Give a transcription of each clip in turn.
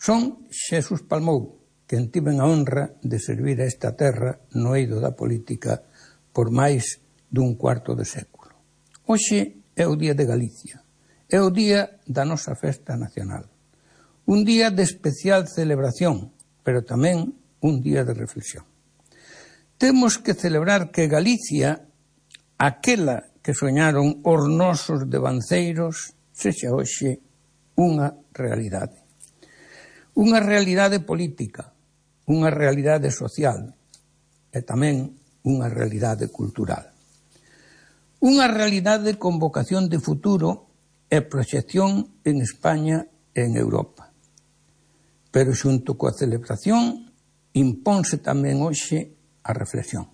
Son Xesús Palmou, quen tiven a honra de servir a esta terra no eido da política por máis dun cuarto de século. Hoxe é o Día de Galicia, é o día da nosa festa nacional. Un día de especial celebración, pero tamén un día de reflexión. Temos que celebrar que Galicia, aquela que soñaron os nosos devanceiros, sexa hoxe unha realidade. Unha realidade política, unha realidade social e tamén unha realidade cultural. Unha realidade con vocación de futuro e proxección en España e en Europa. Pero xunto coa celebración imponse tamén hoxe a reflexión.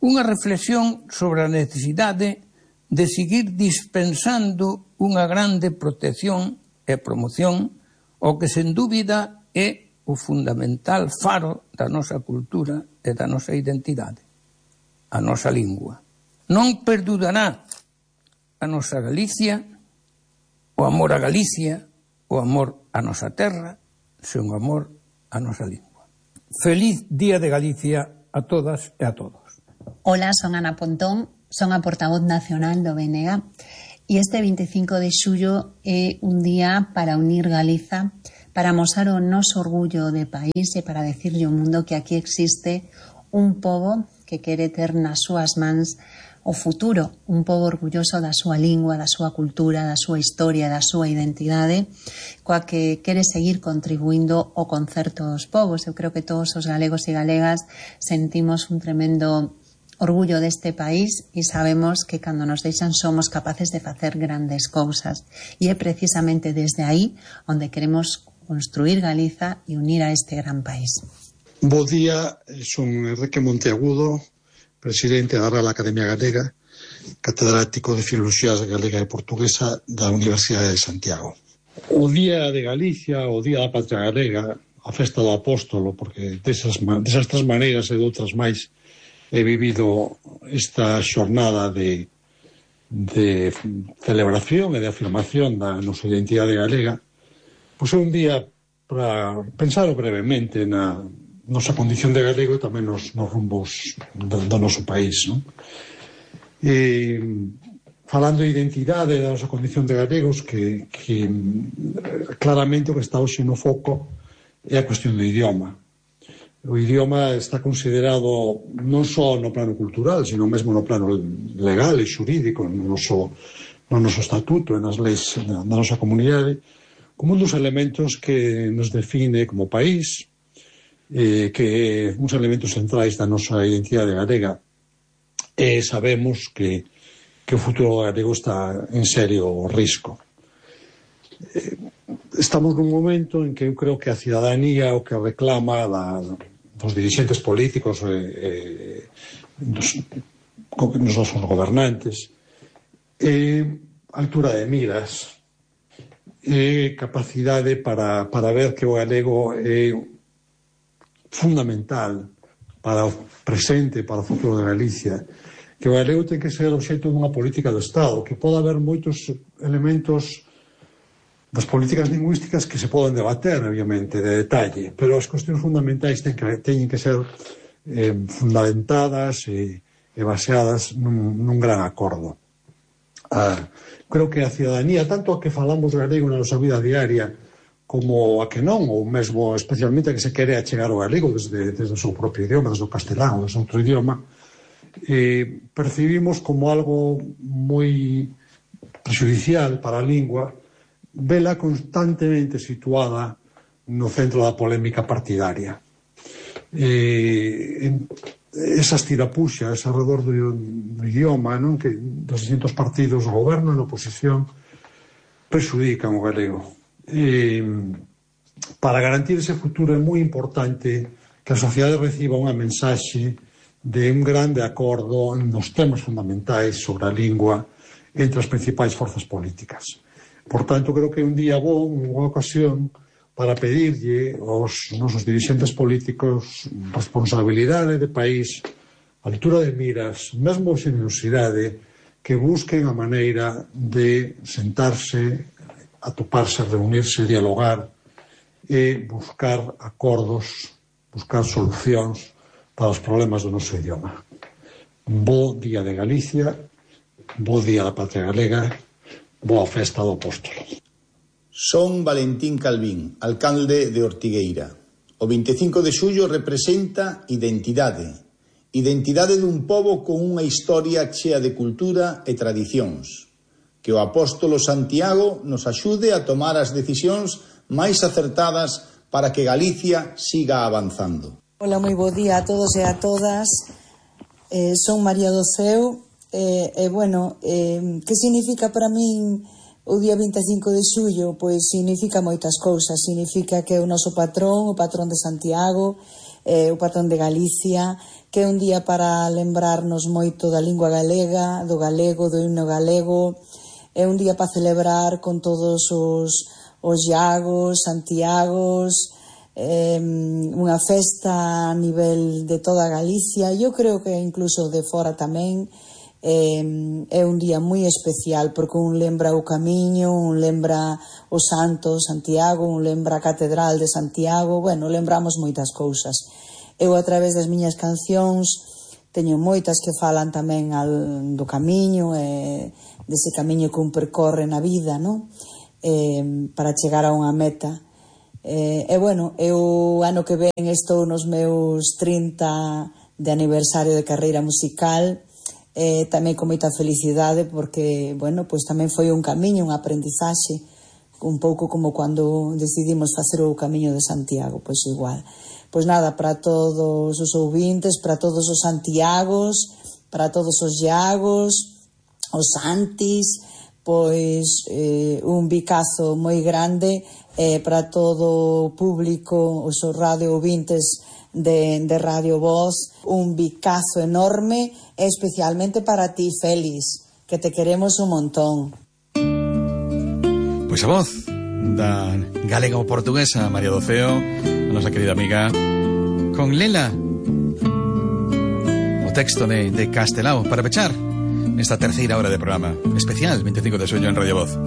Unha reflexión sobre a necesidade de seguir dispensando unha grande protección e promoción o que sen dúbida é o fundamental faro da nosa cultura e da nosa identidade, a nosa lingua. Non perdurará a nosa Galicia, o amor a Galicia, o amor a nosa terra, sen o amor a nosa lingua. Feliz Día de Galicia a todas e a todos. Hola, son Ana Pontón, son a portavoz nacional do BNG e este 25 de xullo é un día para unir Galiza, para amosar o noso orgullo de país e para decirlle ao mundo que aquí existe un pobo que quere ter nas súas mans o futuro, un pobo orgulloso da súa lingua, da súa cultura, da súa historia, da súa identidade, coa que quere seguir contribuindo ao concerto dos povos. Eu creo que todos os galegos e galegas sentimos un tremendo orgullo deste país e sabemos que cando nos deixan somos capaces de facer grandes cousas. E é precisamente desde aí onde queremos construir Galiza e unir a este gran país. Bo día, son Enrique Monteagudo, presidente da Real Academia Galega, catedrático de Filoloxía Galega e Portuguesa da Universidade de Santiago. O Día de Galicia, o Día da Patria Galega, a Festa do Apóstolo, porque desas tres maneiras e de outras máis he vivido esta xornada de celebración e de afirmación da nosa identidade galega, pois é un día para pensar brevemente na nosa condición de galego e tamén nos rumbos do noso país, non? E falando de identidade da nosa condición de galegos, que claramente o que está hoxe no foco é a cuestión do idioma. O idioma está considerado non só no plano cultural, sino mesmo no plano legal e xurídico, no noso estatuto e nas leis da nosa comunidade, como un dos elementos que nos define como país, que uns elementos centrais da nosa identidade galega. E sabemos que o futuro galego está en serio risco. Estamos nun momento en que eu creo que a cidadanía o que reclama dos dirixentes políticos dos nosos gobernantes é altura de miras, é capacidade para ver que o galego é fundamental para o presente, para o futuro de Galicia, que o galego ten que ser obxecto dunha política do Estado, que pode haber moitos elementos das políticas lingüísticas que se poden debater, obviamente, de detalle, pero as cuestións fundamentais teñen que ser fundamentadas e baseadas nun gran acordo. Creo que a cidadanía, tanto a que falamos galego na nosa vida diaria como a que non, ou mesmo especialmente a que se quere achegar o galego desde o seu propio idioma, desde o castelán ou desde outro idioma, percibimos como algo moi prexudicial para a lingua, vela constantemente situada no centro da polémica partidaria. Esas tirapuxas alrededor do idioma, non, que dos distintos partidos do goberno e na oposición prexudican o galego. Para garantir ese futuro é moi importante que a sociedade reciba unha mensaxe de un grande acordo nos temas fundamentais sobre a lingua entre as principais forzas políticas. Por tanto, creo que é un día bo, unha boa ocasión para pedirlle aos nosos dirixentes políticos responsabilidade de país, altura de miras, mesmo xenerosidade, que busquen a maneira de sentarse, atoparse, reunirse, dialogar e buscar acordos, buscar solucións para os problemas do noso idioma. Bo Día de Galicia, bo Día da Patria Galega, boa festa do Apóstolo. Son Valentín Calvín, alcalde de Ortigueira. O 25 de xullo representa identidade dun pobo con unha historia chea de cultura e tradicións. Que o apóstolo Santiago nos axude a tomar as decisións máis acertadas para que Galicia siga avanzando. Hola, moi bo día a todos e a todas. Son María do Ceo. Que significa para min o día 25 de xullo? Pois significa moitas cousas. Significa que é o noso patrón, o patrón de Santiago, o patrón de Galicia, que é un día para lembrarnos moito da lingua galega, do galego, do himno galego. É un día para celebrar con todos os Iagos, Santiagos, unha festa a nivel de toda Galicia. Eu creo que incluso de fora tamén. É un día moi especial porque un lembra o camiño, un lembra o santo Santiago, un lembra a catedral de Santiago. Bueno, lembramos moitas cousas. Eu, a través das miñas cancións, teño moitas que falan tamén do camiño, dese camiño que un percorre na vida, non? Para chegar a unha meta. Eu ano que ven estou nos meus 30 de aniversario de carreira musical, tamén con moita felicidade porque, pois tamén foi un camiño, un aprendizaxe, un pouco como cando decidimos facer o Camiño de Santiago, pois igual. Pois nada, para todos os ouvintes, para todos os Santiagos, para todos os Iagos, os Santis, pois un bicazo moi grande para todo o público, os radio ouvintes de Radio Voz, un bicazo enorme, especialmente para ti, Félix, que te queremos un montón. Pois a voz da galega ou portuguesa María do Ceo, a nosa querida amiga, con Lela, o texto de Castelao, para pechar nesta terceira hora de programa especial 25 de xullo en Radio Voz.